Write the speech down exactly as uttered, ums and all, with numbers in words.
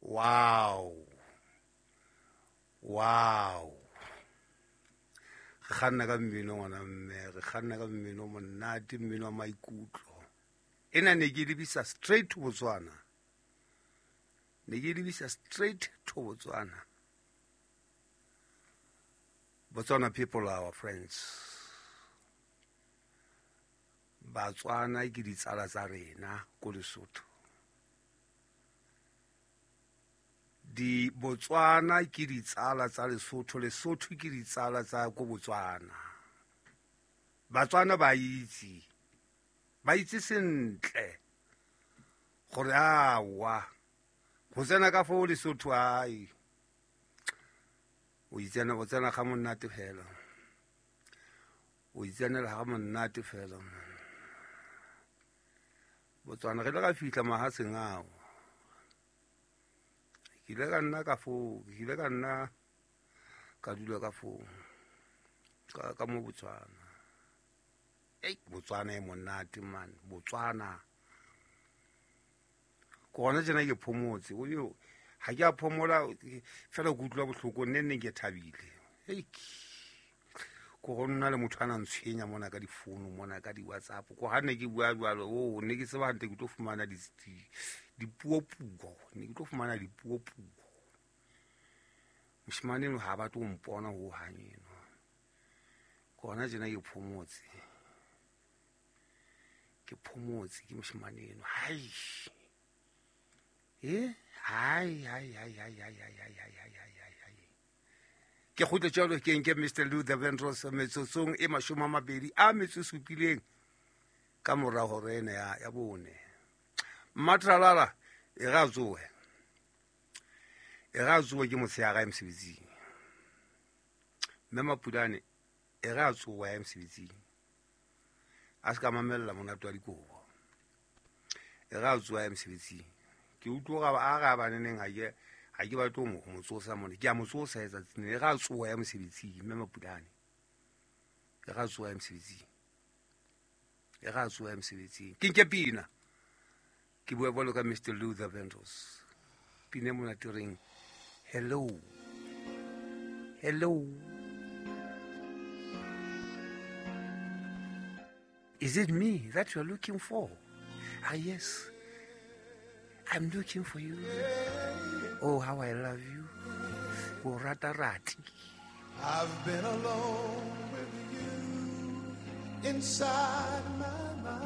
Wow. Wow. Re kganna ka mmino ngwana mme, re kganna ka mmino monate, mmino wa maikutlo. Ena ne ke lebisa straight to Botswana. Ne ke lebisa straight to Botswana. Botswana people are our friends. Batswana ke ditsala tsa rena ko Lesotho. Di Botswana ke ditsala tsa Lesotho, Lesotho ke ditsala tsa ko Botswana. Batswana ba itse, ba itse sentle gore awa go tsena ka foo Lesotho ai o itsena o tsena ga monate fela, o itsenela ga monate fela. Botswana re le ka fihla mahatsheng ao, ke ile ka nna ka foo, ke ile ka nna ka dula ka foo ka, ka mo Botswana. Ei, Botswana e monate man, Botswana. Ko gona tjena ke phomotse, o yo ha ke a phomola fela ke utlwa bohloko, nne nne ke thabile. Ei, ko go nna le motho a nang tshwenya mona ka difounu mona ka di-WhatsApp, ko ha ne ke bua jwalo, o ne ke tseba hantle ke tlo fumana dipuopuo, ne ke tlo fumana dipuopuo. Moshemane eno ha batle ho mpona hohang eno. Ko hona tjena ke phomotse, ke phomotse ke moshemane eno. Hai, eh, hai, hai, hai, hai, hai, hai, hai, hai, hai, hai, hai. Ke kgutle jwalo ke nke Mister Luther Vandross metsotsong e mashome a mabedi a metso e supileng ka mora hora ena ya, ya bone. Mmatralala e ra tsohe, e ra tsohe ke motshehare mosebetsing. Mme Mapulane e ra tsoha ya mosebetsing, a se ka mamella monate wa dikobo. E ra tsoha ya mosebetsing. Ke utlwa hore a re a baneneng ha ke ha ke batle ho mo tsosa mona, ke a mo tsosa letsatsing le ra tsoha ya mosebetsing. Mme Mapulane e ra tsoha ya mosebetsing, e ra tsoha ya mosebetsing. Ke nke pina, ke bua jwalo ka Mister Luther Vandross. Pina e monate e reng hello, hello. Is it me that you're looking for? Ah, yes, I'm looking for you. Oh, how I love you. Oh, rata rati. I've been alone with you inside my mind.